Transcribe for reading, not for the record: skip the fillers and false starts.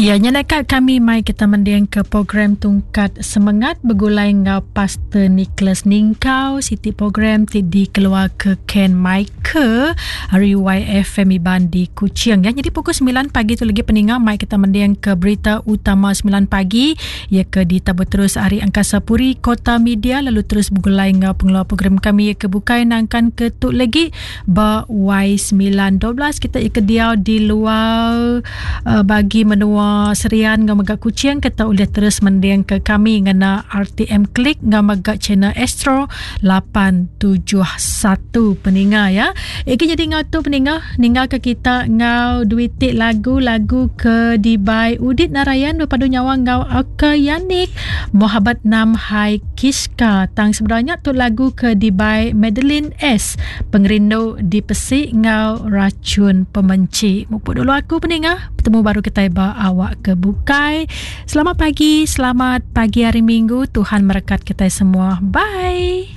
Ya, nya naka kami mai kita mending ke program Tungkat Semengat begulai enggau Pastor Nicholas Ningkau, siti program ti dikeluar ke Ken Michael ari YFM Iban di Kuching. Ya, jadi pukul 9 pagi tu lagi peninga mai kita mending ke berita utama 9 pagi ya ke ditabur terus ari Angkasa Puri Kota Media lalu terus begulai enggau pengeluar program kami ya ke bukai nangkan ke tu lagi Ba Y912 kita ika diau di luar uh, bagi menua Serian enggau mega Kuching kita ulih terus mending ke kami ngena RTM Click enggau mega channel Astro 871 peninga ya. Ika jadi ngau tu peninga ninggal ke kita ngau duitik lagu-lagu ke dibai Udit Narayan berpadu nyawa ngau Aka Yanik Mohabat Nam Hai Kiska tang sebenarnya tu lagu ke dibai Madeline S. Pengerindu dipesi enggau rachun pemenchi. Mupuk dulu aku peninga. Betemu baru kitai ba awak ke bukai. Selamat pagi, selamat pagi hari Minggu. Tuhan merekat kitai semua. Bye.